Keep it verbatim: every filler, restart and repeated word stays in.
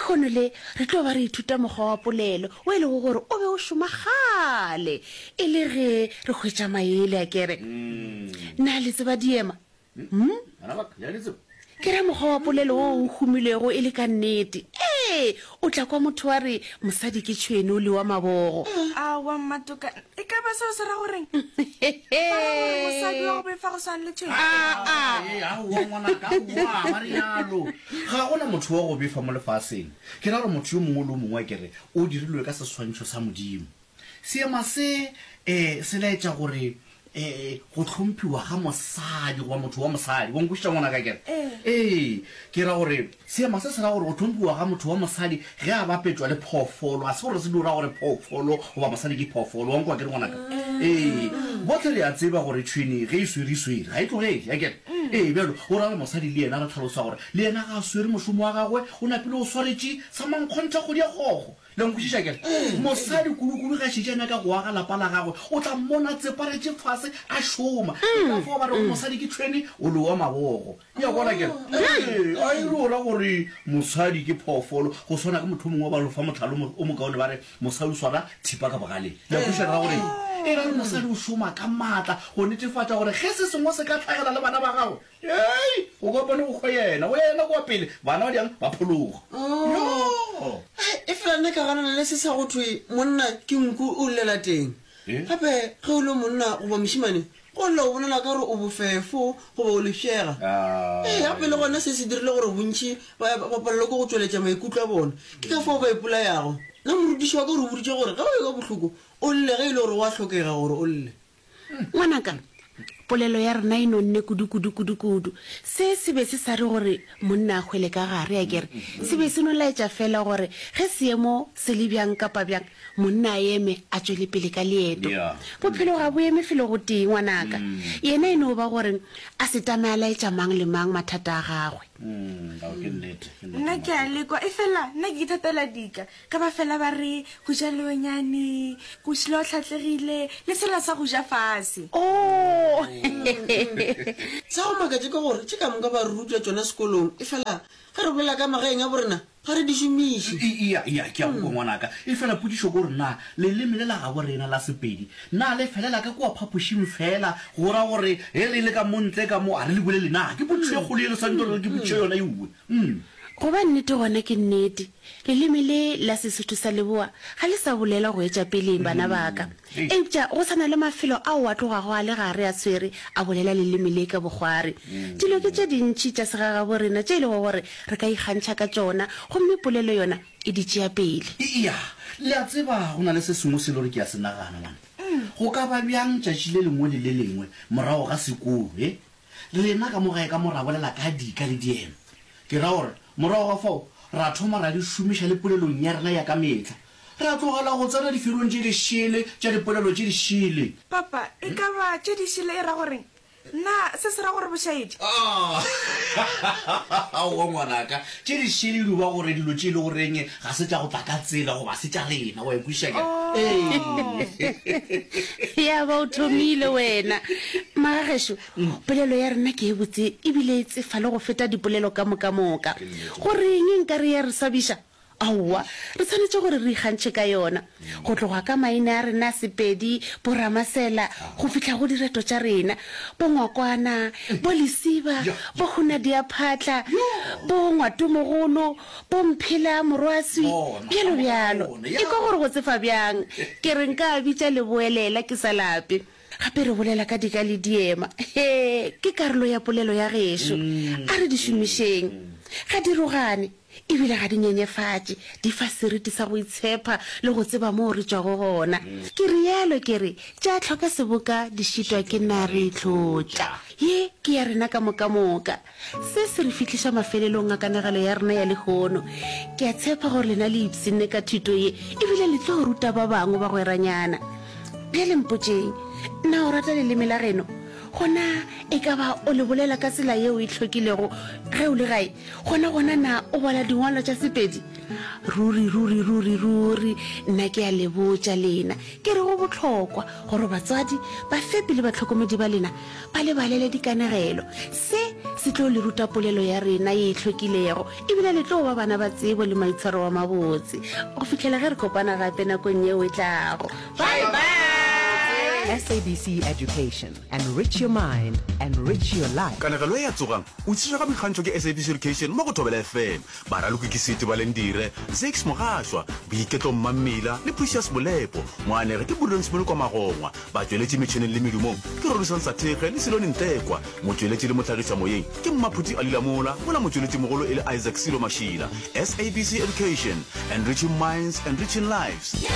Lehono le re tlo ba re ithuta mokgwa wa polelo o e lego gore o be o šoma kgale e le ge re hwetša maele a kere. Na le tseba diema? Hmm? Bana ba ka, le a di tseba? Ke ra mokgwa wa polelo wo o humilego e le ka nnete. Ee, o tla kwa motho a re mosadi ke tšhwene o lewa mabogo. Aowa Mmatoka, e ka ba seo se ra goreng? Ba ra gore mosadi wa go befa go swana le tšhwene? Aa! Ee, aowa ngwanaka, aowa, ba realo. Ga go na motho wa go befa mo lefaseng. Ke ra gore motho yo mongwe le yo mongwe a ke re o dirilwe ka seswantšho sa Modimo. Seema se um se laetša gore um go hlomphiwa ga mosadi goba motho wa mosadi. Wa nkwešiša ngwanaka akere? Ee, ke ra gore seema se se ra gore go hlomphiwa ga motho wa mosadi ge a bapetšwa le phoofolo. Ga se gore se dio ra gore phoofolo goba mosadi ke phoofolo. Wa nkwa akere ngwanaka? Ee, bohle re a tseba gore tšhwene ge e swere e swere, ga e tlogele akere? Ee, bjalo go ra gore mosadi le yena re hlalosa gore le yena ga a swere mošomo wa gagwe, o napile o swaretše sa mankgonthe kgodi ya kgogo. Le nkwešiša ke re? Mosadi kudu-kudu ge a šetše a nyaka go aga lapa la gagwe, o tla mmona a tseparetše fase a šoma. Ke ka fao ba rego mosadi ke tšhwene, o lewa mabogo. Ya bona ke re? Ee, a e re o ra gore mosadi ke phoofolo. Go swana ke motho o mongwe ba re fa mohlala o mokaone ba re mosadi o swara thipa ka bogaleng. Le a kwešiša re ra goreng? E ra gore mosadi o šoma ka maatla go netefatša gore ge se sengwe se ka hlagela le bana ba gagwe, Hei, go kopane go hwa yena, go ya yena kua pele, bana ba diang ba phologa. Yo! Hei, efela nna ka ganana le se sa go thwe monna ke nku o llela teng. Gape ge o le monna goba mošemane, go lla o bonala ka gore o bofefo goba o lefšega. Ee, gape le gona se se dirile gore bontši ba ba palelwe ke go tšweletša maikutlo a bona. Ke ka fao ba ipolayago. Nna morutiši wa ka o re boditše gore ge o ekwa bohloko, o lle ge e le gore go a hlokega gore o lle. Ngwanaka, polelo ya rena e nonne kudu-kudu, kudu-kudu. Se se be se sa re gore monna a hwele ka gare, akere? Se be se no laetša feela gore ge seemo se le bjang kapa bjang, monna a eme a tšwele pele ka leeto. Bophelo ga bo eme felo gotee, ngwanaka. Yena e no ba gore a se tame a laetša mang le mang mathata a gagwe. Nna ke a lekwa, efela nna ke ithatela dika. Ka ba fela ba re, Go ja leonyane, go šila o hlatlegile, le sela sa go ja fase. Oh! Sa go makatša ke gore tše ka moka ba re ruta tšona sekolong, efela ge re bolela ka magaeng a borena ga re di šomiše. Eya, eya, ke a go kwa ngwanaka. Efela potšišo ke gore na leleme le la gabo rena la Sepedi na le felela ka kua phapošing feela go ra gore ge re le ka mo ntle ka mo ga re le bolele na? Ke potšišo e kgolo ye re swanetše gore re ke botšiše yona eue. Umm. Go ba nnete gona ke nnete, leleme le la Sesotho sa Leboa ga le sa bolelwa go etša peleng, bana ba ka. Eupša go sa na le mafelo ao a tlogago a le gare a swere a bolela leleme le ka bokgwari. Dilo ke tše dintši tša segagabo rena tše e lego gore re ka ikgantšha ka tšona, gomme polelo yona e di tšea pele. Eya, le a tseba, go na le se sengwe se e le gore ke a se nagana, man. Go ka ba bjang tšatši le lengwe le le lengwe morago ga sekolo, he, Rena ka mo gae ka mo ra bolela ka dika le diema. Ke ra gore morago ga fao ra thoma ra di šomiša le polelong ya rena ya ka mehla. Ra tlogela go tsena diferong tše di šele tša dipolelo tše di šele. Papa, e ka ba tše di šele e ra goreng? Na se se ra gore bošaedi? Aowa ngwanaka, tše di šele e no ba gore dilo tše e le goreng ga se tša go tla ka tsela goba se tša rena, wa e kwešiša ke? Ee. Ya ba o thomile wena. Magagešo, polelo ya rena ke e botse ebile e tsefa le go feta dipolelo ka moka moka. Go reng nka re ya re swabiša? Aowa, re swanetše gore re ikgantšhe ka yona. Go tloga ka maina a rena a Sepedi, bo Ramasela, go fihla go direto tša rena, bo Ngwakwana, bo Lesiba, bo Hunadiaphatla, bo Ngwatomogolo, bo Mphela Morwaswi, bjalo bjalo. Ekwa gore go tsefa bjang. Ke re nka a bitša leboelela ke sa lape. Gape re bolela ka dika le diema. Hee, ke karolo ya polelo ya gešo. A re di šomišeng. Ga di rogane, e bile ga di nyenyefatše. Di fa seriti sa go itshepa le go tseba moo re tšwago gona. Ke realo ke re, tša hloka seboka di šitwa ke nare tlotša. Ye ke ya rena ka moka moka. Se se re fihliša mafelelong a kanegelo ya rena ya lehono. Ke a tshepa gore lena le ipshinne ka thuto ye e bile le tlo ruta ba bangwe bagweranyana. Bjale mpotšeng, na o rata leleme la geno? Gona e ka ba o le bolela ka tsela yeo e hlwekilego ge o le gae? Gona gona na o bala dingwalwa tša Sepedi? Ruri, ruri, ruri, ruri, nna ke a le botša lena, ke re go bohlokwa gore batswadi, bafepi le bahlokomedi ba lena ba le balele dikanegelo. Se Se tlo le ruta polelo ya rena ye e hlwekilego, ebile le tlo ba bana ba tsebo le maitshwaro a mabotse. Go fihlela ge re kopana gape nakong yeo e tlago. Bye bye! S A B C Education, enrich your mind, enrich your life. Kanegelo ye ya Tsogang! O tlišetšwa ka boikgantšho ke S A B C Education mo go Thobela F M. Baraloki ke Seti Balendire, Zakes Mogashwa, Boiketlo Mmammila le Precious Molepo. Moanegi ke Prudence Molokwa Magongwa. Batšweletši metšheneng le medumong ke Rorisang Sathekge le Silone Ntekwa. Motšweletši le mohlagišamoyeng ke Mmaphuti Ali Lamola, mola motšweletšimogolo e le Isaac Silo Mashila. S A B C Education, enriching minds, enriching lives.